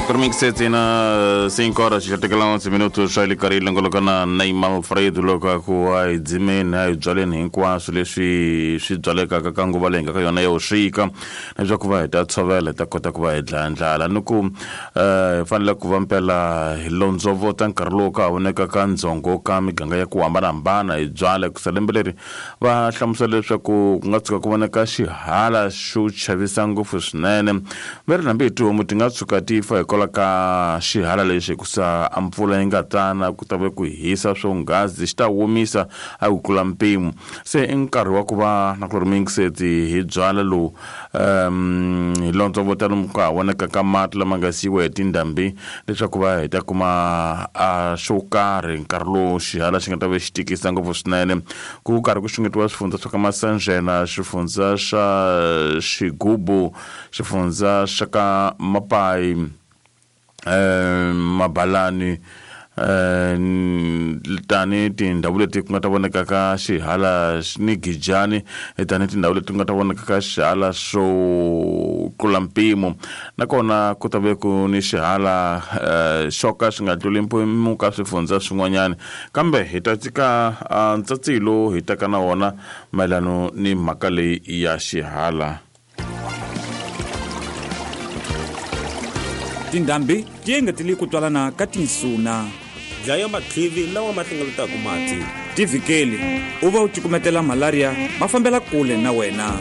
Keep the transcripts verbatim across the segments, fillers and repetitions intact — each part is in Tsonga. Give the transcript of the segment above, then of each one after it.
Setsena cinco horas xa tekela onze minutos swa le karhi longoloka na Neymar Alfredo loko a ku a hi dzimeni a hi byaleni hinkwaswo leswi swi byalekaka ka nguva leyi nga ka yona ya vuxika leswaku va hi ta tshovela hi ta kota ku va hi dlaya ndlala ni ku hi fanele ku va mpela hi londzovota nkarhi lowu ka ha voneka ka ndzhongo ka miganga ya ku hambanahambana hi byala hikusa lembe leri va hlamusela leswaku ku nga tshuka ku voneka xihala xo chavisa ngopfu swinene va ri hambi hi tihomu ti nga tshuka ti fa hikwalaho ka xihala lexi hikusa a mpfula yi nga tana ku ta ve ku hisa swonghazi xi ta womisa a ku tlula mpimo se i nkarhi wa ku va na ku ri mingiseti hi byala lowu um hi londzovota lomu ka ha voneka ka mati lama nga siyiwa hi tindhambi leswaku va hi ta kuma a xo karhi nkarhi lowu xihala xi nga ta ve xi tikisa ngopfu swinene ku karhi ku xungetiwa swifundza swa ka Masanjena xifundza xa Xigubu xifundza xa ka Mapai eh Mabalani eh tani tindhawu leti ku nga ta voneka ka xihala ni Gijani tani tindhawu leti ku nga ta voneka ka xihala xo tlula mpimo nakona ku ta ve ku ni xihala xo ka xi nga tluli mpimo ka swifundza swin'wanyana kambe hi ta tshika ntsatsilo hi ta ka na wona mayelano ni mhaka leyi ya xihala. Tindhambi ti engetele ku twalana ka tinsuna dlaya matlivi lawa ma hlengeletaka mati ti vhikeli u va u cukumetela malaria ma fambela kule na wena.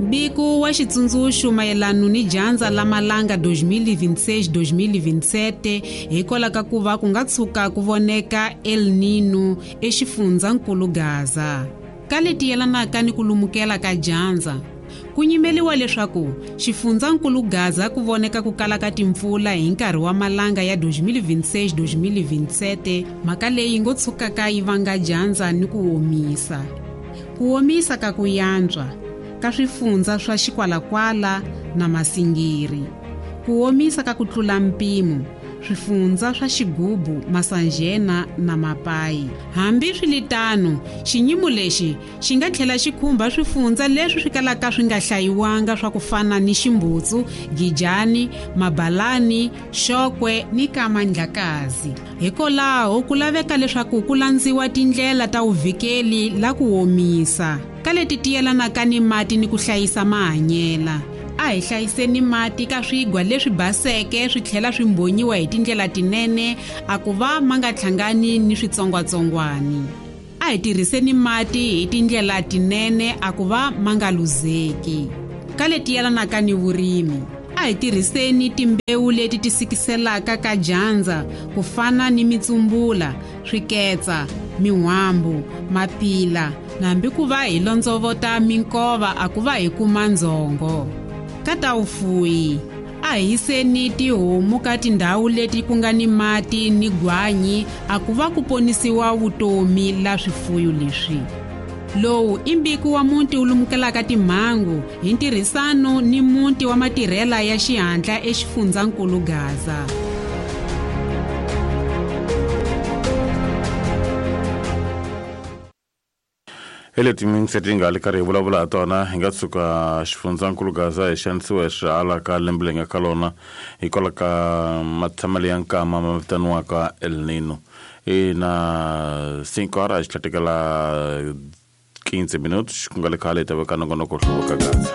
Mbiko wa xitsundzuxo mayelano ni dyandza la malanga dois mil e vinte e seis dois mil e vinte e sete hikwalaho ka ku va ku nga tshuka ku voneka El Nino exifundzankulu Gaza. Ka leti yelanaka ni ku lumukela ka dyandza ku nyimeliwa leswaku xifundzankulu Gaza ku voneka ku kala ka timpfula hi nkarhi wa malanga ya dois mil e vinte e seis dois mil e vinte e sete mhaka leyi ngo tshukaka yi vanga dyandza ni ku omisa. Ku omisa ka ku yantswa ka swifundza swa Xikwalakwala na Masingiri. Ku omisa ka ku tlula mpimo swifundza swa Xigubu, Masanjena na Mapai. Hambi swiritano, xinyimo lexi xi nga tlhela xi khumba swifundza leswi swi kalaka swi nga hlayiwanga swa ku fana ni Ximbutsu, Gijani, Mabalani, Xokwe ni Kamandlakazi. Hikwalaho ku laveka leswaku ku landziwa tindlela ta vuvikeli la ku omisa ka leti ti yelanaka ni mati ni ku hlayisa mahanyela. A hi hlayiseni mati ka swigwa leswi baseke swi tlhela swi mbhonyiwa hi tindlela tinene a ku va ma nga hlangani ni switsongwatsongwani. A hi tirhiseni mati hi tindlela tinene a ku va ma nga luzeki. Ka leti yelanaka ni vurimi, a hi tirhiseni timbewu leti ti sikiselaka ka dyandza ku fana ni mitsumbula, swiketsa, min'wambu, mapila na hambi ku va hi londzovota minkova a ku va hi kuma ndzhongo. Ka ta vufuwi, a hi yiseni tihomu ka tindhawu leti ku nga ni mati ni gwanyi a ku va ku ponisiwa vutomi la swifuyo leswi. Lowu i mbiko wa muti wu lumukelaka timhangu hi ntirhisano ni muti wa matirhela ya xihatla exifundzankulu Gaza. Hi leti mingiseti hi nga le karhi hi vulavula ha tona hi nga tshuka xifundzankulu Gaza hi xanisiwa hi swihala ka lembe leyi nga ka lona hikwalaho ka matshamelo ya nkama ma vitaniwaka El Nino. I na cinco horas xi tlhatekela quinze minutos ku nga le khale hi ta veka nongonoko hluvuka Gaza.